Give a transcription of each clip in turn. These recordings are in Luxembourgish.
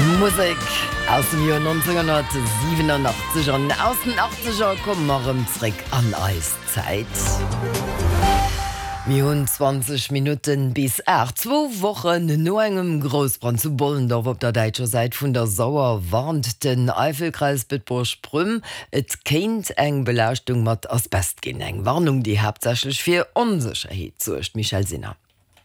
Musek aus dem Joer 1987 an aus den Achtzeger komme mer erëm zréck an eis Zäit. Mir hunn 20 Minutten bis 8. Zwou Wochen no engem Groussbrand zu Bollendorf op der däitscher Säit vun der Sauer warnt den Eifelkreis Bedburg-Prüm, et kéint eng Belaaschtung mat Asbest ginn. Eng Warnung, déi haaptsächlech fir Onsécherheet suergt. Michèle Sinner.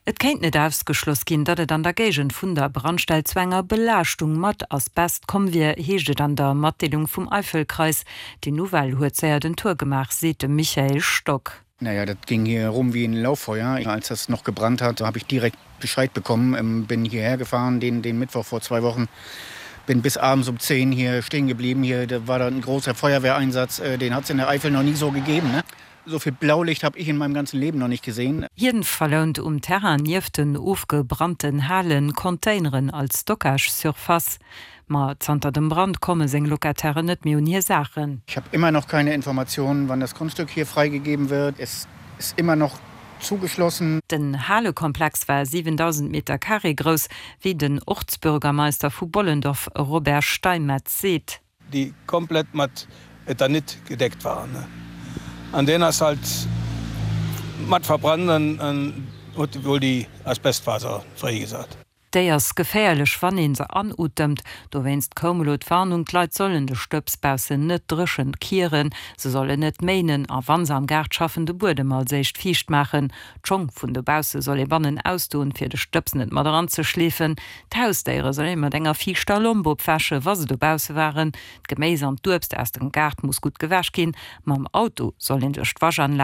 Et kéint net ausgeschloss ginn, datt et an der Géigend vun der Brandstell zu enger Belaaschtung mat Asbest komm wier, heescht et an der Matdeelung vum Eifelkreis. Déi Nouvelle huet séier den Tour gemaach, seet de Michael Stock. Naja, dat ging hier rum wie ein Lauffeuer. Als das noch gebrannt hat, habe ich direkt Bescheid bekommen, bin hierher gefahren den, den Mittwoch vor zwei Wochen, bin bis abends um 10 hier stehen geblieben. Hier da war dann ein großer Feuerwehreinsatz, den hat es in der Eifel noch nie so gegeben. Ne? So viel Blaulicht habe ich in meinem ganzen Leben noch nicht gesehen. Hien verlount um Terrain nieft den ofgebrannten Halen Containeren als Stockage-Surface. Ma zanter dem Brand komme seng Locatairen net méi un hir Saachen. Ich habe immer noch keine Informationen, wann das Grundstück hier freigegeben wird. Es ist immer noch zugeschlossen. Den Halekomplex war 7.000 Meter Carré grouss, wéi den Ortsbürgermeister vu Bollendorf Robert Steinmetz seet. déi komplett mat Eternit gedeckt waren, an deen ass halt mat verbrannt an huet wuel déi Asbestfaser fréigesat. Déi ass geféierlech, wann ee se anotemt. Dowéinst koum elo d'Warnung, d'Leit sollen de Stëbs baussen net dréchen kieren, se sollen net méinen a wa se am Gaart schaffen, de Buedem als éischt fiicht maachen. D'Schong vun dobausse soll ee bannen ausdoen, fir de Stëbs net mat eranzeschleefen. D'Hausdéiere soll ee mat enger fiichter Lomp opwäsche wa se dobausse waren. D'Geméis an d'Uebst aus dem Gaart muss gutt gewäsch ginn. Mam Auto soll een duerch d'Waschanlag.